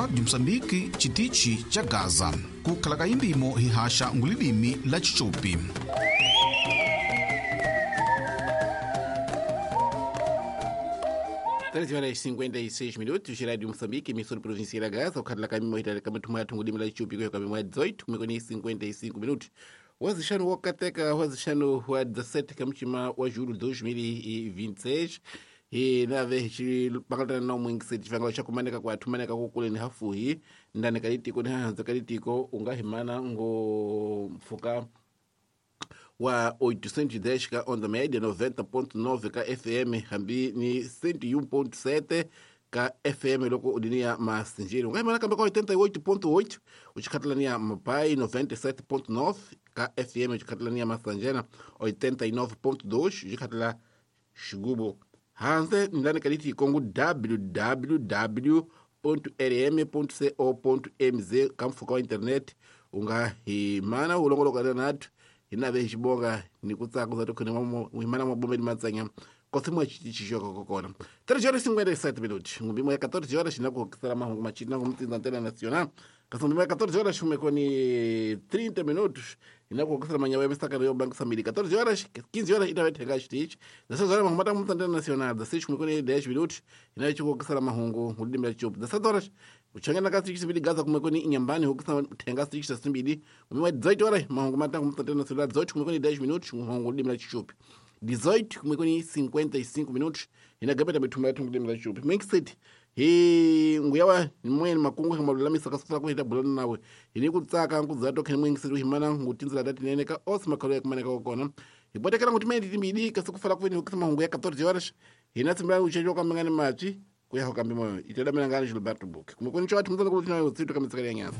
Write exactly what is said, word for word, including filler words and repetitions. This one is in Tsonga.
Rádio Moçambique, Chitichi cha Gaza. Kukhala imbimo hihaxa ngulilimi la Chichopi. treze horas e cinquenta e seis minutos, Rádio Moçambique, emissora provincial da Gaza, o Carla Camimo Itali Kamatumwa Tungulimi la Chichopi kwa Kamimo dezoito, kumekoni cinquenta e cinco minutos. Wazixano wa Kateka, wazixano wa dezessete kamuchima wa julho dois mil e vinte e seis. E na vez pakatana na mwingise chivangalo cha kumaneka kwa tumaneka kukule ni hafuhi ndani kalitiko ni hanza kalitiko ungahimana ngo mfuka wa oitocentos e dez ka onda média, noventa ponto nove ka F M, hambi ni cento e um ponto sete ka F M loko udinia masinjiri. Ungahimana kambe ka oitenta e oito ponto oito uchikatalania mapai, noventa e sete ponto nove ka F M uchikatalania masanjena, oitenta e nove ponto dois uchikatala xigubo. Hanze ndani kaliti kongo w w w ponto r m ponto co ponto m z kamfuka wa internet ungahimana ulongolokana natu hinave xibonga ni ku tsaka za tokhone himana mabombeni matsanya kosi chixoka kokona treze horas e cinquenta e sete minutos ngumbimo ya catorze horas na ku kisala mahungu machina ngumtsinza antena nacional kasi ngumbimo ya catorze horas kumekoni trinta minutos ina ku kisala manyawa misaka yo bank samili catorze horas quinze horas ita vethenga xitichi dezesseis horas mahungu mata ngumtsinza antena nacional dezesseis kumekoni dez minutos ina ku kisala mahungu ngulimi la chup dezessete horas uchangana kasi xibili gaza kumekoni inyambani hukisa thenga six simbili ngumbimo ya dezoito horas mahungu mata ngumtsinza antena nacional dezoito kumekoni dez minutos mahungu ngulimi la chup dezoito kumekoni cinquenta e cinco minutos ina gabeta mithumba yathu ngulimi la chup mixed hi nguyawa nimweni makungu himalulamisa kasufula kuhita bulana nawe hini kutsaka nkuzato kheni mwingisiri himana ngutinzila tatinene ka osi makhalo yakumaneka kokona hibotekela nguti mene timbili kasukufala kuveni hukisa mahungu ya catorze horas hina tsimbila uchecho kamengani machi kuya hokambi moyo itedamela ngani Gilberto Book kumekoni cho athu mzana kulutina utsitu kamitsikali ya nyasa.